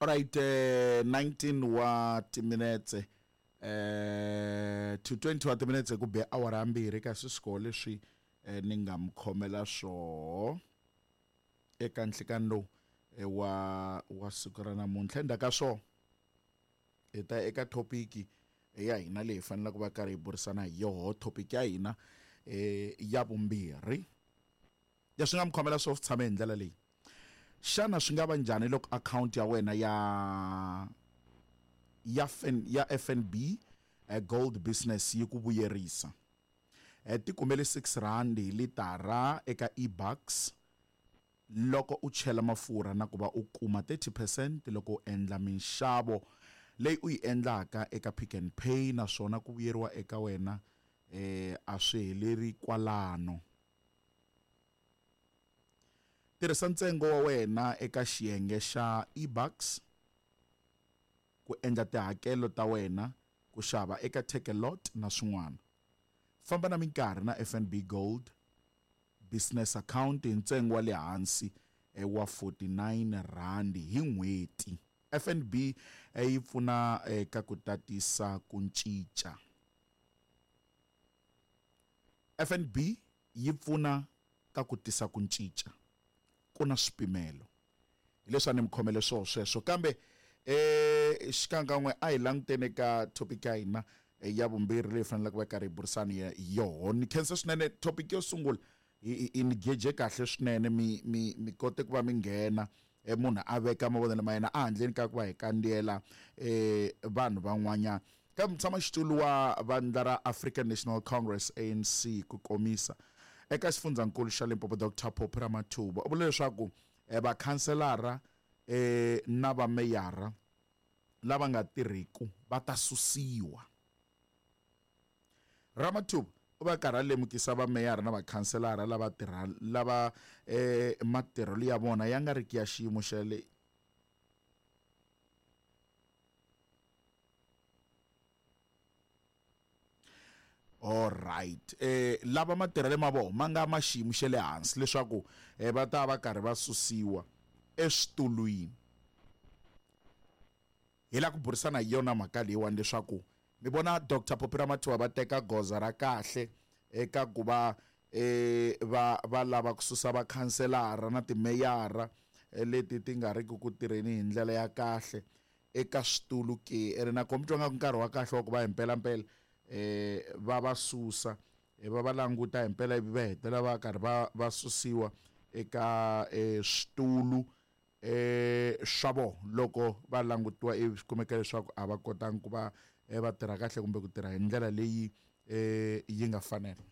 Alright, 19 wa timinetse to 20 wa timinetse ku be awara ya mbirhi kasi swikolo leswi ni nga mi khomela swoho eka nhlikani lowu wa wa siku ra namuntlha. Endzhaku ka swona hi ta eka thopiki ya hina leyi hi faneleke va karhi hi burisana hi yoho, thopiki ya hina ya vumbirhi. Leswi nga mi khomela swo tshame hi ndlela leyi. Xana swi nga va njhani loko akhawunti ya wena ya ya ya FNB Gold Business yi ku vuyerisa? Ti kumele 6 rand hi litara eka eBucks loko u chela mafurha na ku va u kuma 30 percent loko u endla minxavo leyi u yi endlaka eka Pick n Pay, naswona ku vuyeriwa eka wena a swi heleri kwalano. Tirhisa ntsengo wa wena eka xiyenge xa eBucks ku endla tihakelo ta wena, ku xava eka Takealot na swin'wana. Famba na minkarhi na FNB Gold Business Account hi ntsengo wa le hansi wa R49 hi n'hweti. FNB yi pfuna eka ku tatisa ku cinca. FNB yi pfuna ka ku tisa ku cinca. Ku na swipimelo. Hi leswi a ni mi khomele swoho sweswo. Kambe eh xikankan'we a hi languteni eka topic ya hina ya vumbirhi leyi faneleke va karhi hi burisana hi yoho. Ni khensa swinene topic yo sungula hi ni geje kahle swinene, mi mi mi kote ku va mi nghena, munhu a veka mavonelo ma yena ehandleni ka ku va hi kandziyela vanhu van'wanyana. Kambe mutshamaxitulu wa vandla ra African National Congress, ANC ku komisa, eka xifundzankulu xa Limpopo Doctor Phophi Ramathuba u vule leswaku vakhanselara na vameyara lava nga tirhiku va ta susiwa. Ramathuba u va karhi a lemukisa vameyara na vakhanselara lava tirha lava matirhelo ya vona ya nga riki ya xiyimo xa le Alright, lava matirhelo ma vona ma nga ma xiyimo xa le hansi leswaku va ta va karhi va susiwa eswitulwini. Hi lava ku burisana hi yona mhaka leyiwani leswaku mi vona Doctor Phophi Ramathuba va teka goza ra kahle eka ku va va va lava ku susa vakhanselara na timeyara leti ti nga riki ku tirheni hi ndlela ya kahle eka switulu ke, ene na koho mi twa nga ku nkarhi wa kahle wa ku va hi mpelampela va va susa, va va languta hi mpela ivi va hetelela va karhi va va susiwa eka switulu swa vona loko va langutiwa ivi swi kumeka leswaku a va kotangi ku va va tirha kahle kumbe ku tirha hi ndlela leyi yi nga fanela.